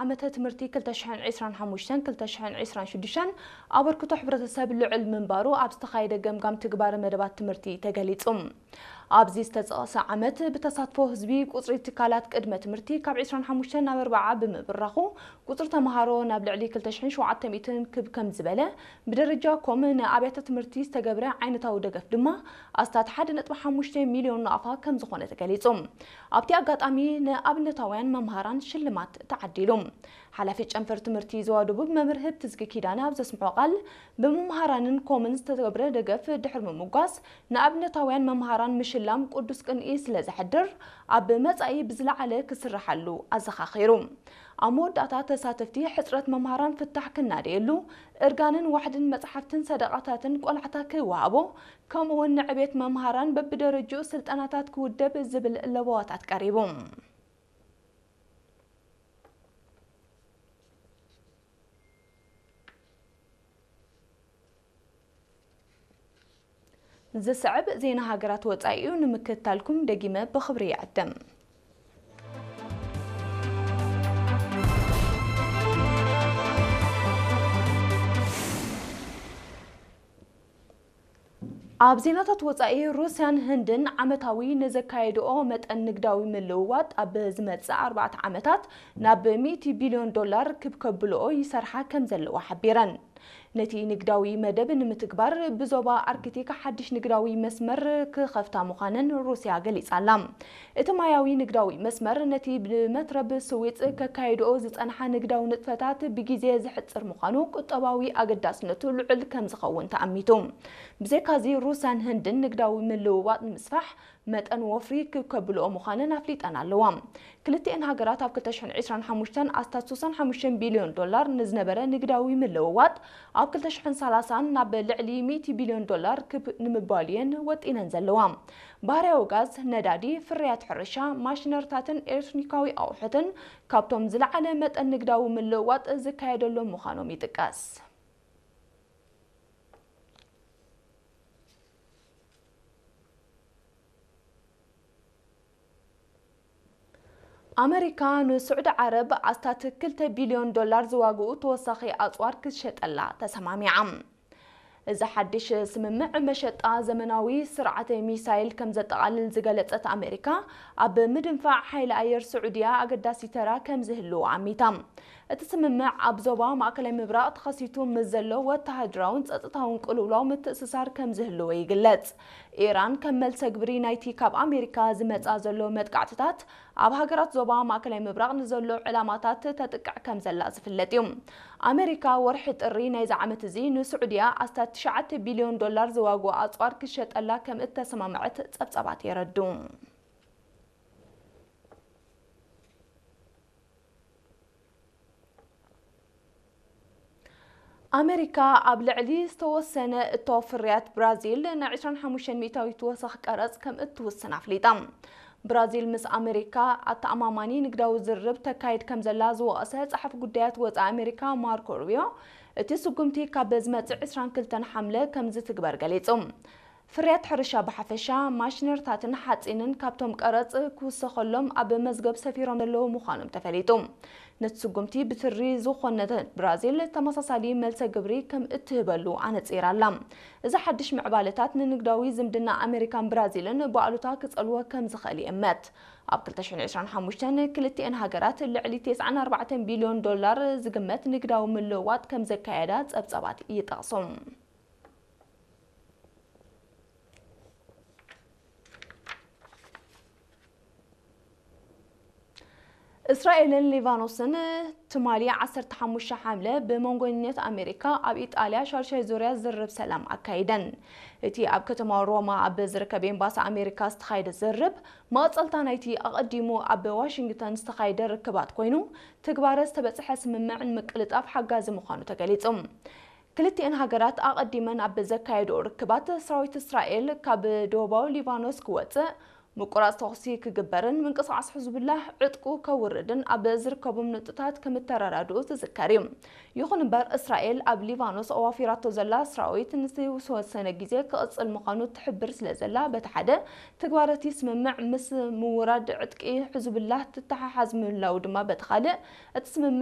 ዓመተ ትምህርቲ ክልተ ሽሕን ዕስራን ሓሙሽተን ክልተ ሽሕን ዕስራን ሽዱሽተን ኣበርክቶ ሕብረተሰብ ልዑል ምንባሩ ኣብ ዝተኻየደ ገምጋም ትግባረ መደባት ትምህርቲ ተገሊጹ። ኣብዚ ዝተጠቕሰ ዓመት ብተሳትፎ ህዝቢ ቁጽሪ ትካላት ቅድመ ትምህርቲ ካብ ዕስራን ሓሙሽተን ናብ ኣርብዓ ብምብራኹ ቁጽሪ ተምሃሮ ናብ ልዕሊ ክልተ ሽሕን ሸውዓተ ሚእትን ክብ ከም ዝበለ፣ ብደረጃ ኮም ንኣብያተ ትምህርቲ ዝተገብረ ዓይነታዊ ደገፍ ድማ ኣስታት ሓደ ነጥቢ ሓሙሽተ ሚልዮን ናቕፋ ከም ዝኾነ ተገሊጹ። ኣብቲ ኣጋጣሚ ንኣብነታውያን መምሃራን ሽልማት ተዓዲሉ። ሓላፊ ጨንፈር ትምህርቲ ዞባ ደቡብ መምህር ህብትዝጊ ኪዳነ ኣብ ዘስምዖ ቃል፣ ብመምሃራንን ኮምን ዝተገብረ ደገፍ ድሕሪ ምምጓስ፣ ንኣብነታውያን መምሃራን ምሽላም ቅዱስ ቅንኢ ስለ ዘሕድር፣ ኣብ መጻኢ ብዝለዓለ ክስርሓሉ ኣዘኻኺሩ። ኣብ መወዳእታ ተሳተፍቲ፣ ሕጽረት መምሃራን ፍታሕ ክናደየሉ፣ እርጋንን ዋሕድን መጽሓፍትን ሰደቓታትን ቆላሕታ ክወሃቦ፣ ከምኡ'ውን ንዕቤት መምሃራን በብደረጅኡ ስልጠናታት ክውደብ ዝብል ለበዋታት ቀሪቡ። ዝስዕብ ዜና ሃገራት ወጻኢ እዩ፣ ንምክትታልኩም ደጊመ ብኽብሪ ይዕድም። ኣብ ዜናታት ወጻኢ፣ ሩስያን ህንድን ዓመታዊ ንዘካየድኦ መጠን ንግዳዊ ምልውዋጥ ኣብ ዝመጽእ ኣርባዕተ ዓመታት ናብ ሚእቲ ቢልዮን ዶላር ክብ ከብልኦ ይሰርሓ ከም ዘለዋ ሓቢረን። ነቲ ንግዳዊ መደብ ንምትግባር ብዞባ ኣርክቲክ ሓድሽ ንግዳዊ መስመር ክኸፍታ ምዃነን ሩስያ ገሊጻ ኣላ። እቲ ማያዊ ንግዳዊ መስመር ነቲ ብመትረብ ስዊጽ ከካይድኦ ዝጸንሓ ንግዳዊ ንጥፈታት ብግዜ ዘሕጽር ምዃኑ ቁጠባዊ ኣገዳስነቱ ልዑል ከም ዝኸውን ተኣሚቱ። ብዘይካዚ ሩስያን ህንድን ንግዳዊ ምልውዋጥ ንምስፋሕ መጠን ወፍሪ ክብ ከብልኦ ምዃነን ኣፍሊጠን ኣለዋ። ክልቲኤን ሃገራት ኣብ ክልተ ሽሕን ዕስራን ሓሙሽተን ኣስታት ስሳን ሓሙሽተን ቢልዮን ዶላር ንዝነበረ ንግዳዊ ምልውዋጥ ኣብ ክልተ ሽሕን ሰላሳን ናብ ልዕሊ ሚእቲ ቢልዮን ዶላር ክብ ንምባል እየን ወጢነን ዘለዋ። ባህርያዊ ጋዝ፣ ነዳዲ፣ ፍርያት ሕርሻ፣ ማሽነርታትን ኤሌክትሮኒካዊ ኣቑሑትን ካብቶም ዝለዓለ መጠን ንግዳዊ ምልውዋጥ ዝካየደሎም ምዃኖም ይጥቀስ። ኣመሪካ ንስዑዲ ዓረብ ኣስታት ክልተ ቢልዮን ዶላር ዝዋግኡ ተወሳኺ ኣጽዋር ክትሸጠላ ተሰማሚዓ። እዚ ሓድሽ ስምምዕ መሸጣ ዘመናዊ ስርዓተ ሚሳይል ከም ዘጠቓልል ዝገለጸት ኣመሪካ፣ ኣብ ምድንፋዕ ሓይሊ ኣየር ስዑድያ ኣገዳሲ ተራ ከም ዝህልዎ ኣሚታ። እቲ ስምምዕ ኣብ ዞባ ማእከላይ ምብራቕ ተኸሲቱ ምስ ዘሎ ወተሃደራውን ጸጥታውን ቅልውላው ምትእስሳር ከም ዝህልዎ ይግለጽ። ኢራን ከም መልሰ ግብሪ ናይቲ ካብ ኣሜሪካ ዝመጻ ዘሎ መጥቃዕትታት፣ ኣብ ሃገራት ዞባ ማእከላይ ምብራቕ ንዘሎ ዕላማታት ተጥቅዕ ከም ዘላ ዝፍለጥ እዩ። ኣሜሪካ ወርሒ ጥሪ ናይዚ ዓመት እዚ ንስዑድያ ኣስታት ትሽዓተ ቢልዮን ዶላር ዝዋግኡ ኣጽዋር ክሸጠላ ከም እተሰማምዐት ጸብጻባት የረድኡ። ኣመሪካ ኣብ ልዕሊ ዝተወሰነ እቶ ፍርያት ብራዚል ን ዕስራን ሓሙሽተን ሚእታዊት ወሰኽ ቀረጽ ከም እትውስን ኣፍሊጣ። ብራዚል ምስ ኣመሪካ ኣተኣማማኒ ንግዳዊ ዝርርብ ተካይድ ከም ዘላ ዝወቐሰ ጸሓፊ ጉዳያት ወጻኢ ኣመሪካ ማርኮ ሩቢዮ፣ እቲ ስጉምቲ ካብ ዝመጽእ ዕስራን ክልተን ሓምለ ከም ዝትግበር ገሊጹ። ፍርያት ሕርሻ ብሓፈሻ፣ ማሽነርታትን ሓጺንን ካብቶም ቀረጽ ክውሰኸሎም ኣብ መዝገብ ሰፊሮም ዘለዉ ምዃኖም ተፈሊጡ። ነቲ ስጉምቲ ብትሪ ዝኾነት ብራዚል ተመሳሳሊ መልሰ ግብሪ ከም እትህበሉ ኣነጺራ ኣላ። እዚ ሓድሽ ምዕባለታት ንንግዳዊ ዝምድና ኣመሪካን ብራዚልን ብኣሉታ ክጸልዎ ከም ዝኽእል ይእመት። ኣብ ክልተ ሽሕን ዕስራን ሓሙሽተን ክልቲኤን ሃገራት ልዕሊ ተስዓን ኣርባዕተን ቢልዮን ዶላር ዝግመት ንግዳዊ ምልውዋጥ ከም ዘካየዳ ጸብጻባት ይጠቕሱ። እስራኤልን ሊባኖስን ትማሊ ዓሰርተ ሓሙሽተ ሓምለ ብመንጎኝነት ኣሜሪካ ኣብ ኢጣልያ ሻድሻይ ዙርያ ዝርርብ ሰላም ኣካይደን። እቲ ኣብ ከተማ ሮማ ኣብ ዝርከብ ኤምባሲ ኣሜሪካ ዝተኻየደ ዝርርብ፣ መቐጸልታ ናይቲ ኣቐዲሙ ኣብ ዋሽንግተን ዝተኻየደ ርክባት ኮይኑ፣ ትግባረ ዝተበጽሐ ስምምዕ ንምቅልጣፍ ሓጋዚ ምዃኑ ተገሊጹ። ክልቲኤን ሃገራት ኣቐዲመን ኣብ ዘካየድኦ ርክባት፣ ሰራዊት እስራኤል ካብ ደቡባዊ ሊባኖስ ክወጽእ፣ ምቁራጽ ተኹሲ ክግበርን ምንቅስቓስ ሕዝቡላህ ዕጥቁ ከውርድን ኣብ ዝርከቦም ነጥብታት ከምተረዳድኡ ዝዝከር እዩ። ይኹን እምበር፣ እስራኤል ኣብ ሊባኖስ ኣዋፊራቶ ዘላ ሰራዊት ንዝተወሰነ ግዜ ክቕጽል ምዃኑ ትሕብር ስለ ዘላ፣ በቲ ሓደ፣ ትግባረቲ ስምምዕ ምስ ምውራድ ዕጥቂ ሕዝቡላህ ትተሓሓዝ ምህላው ድማ፣ በቲ ካልእ፣ እቲ ስምምዕ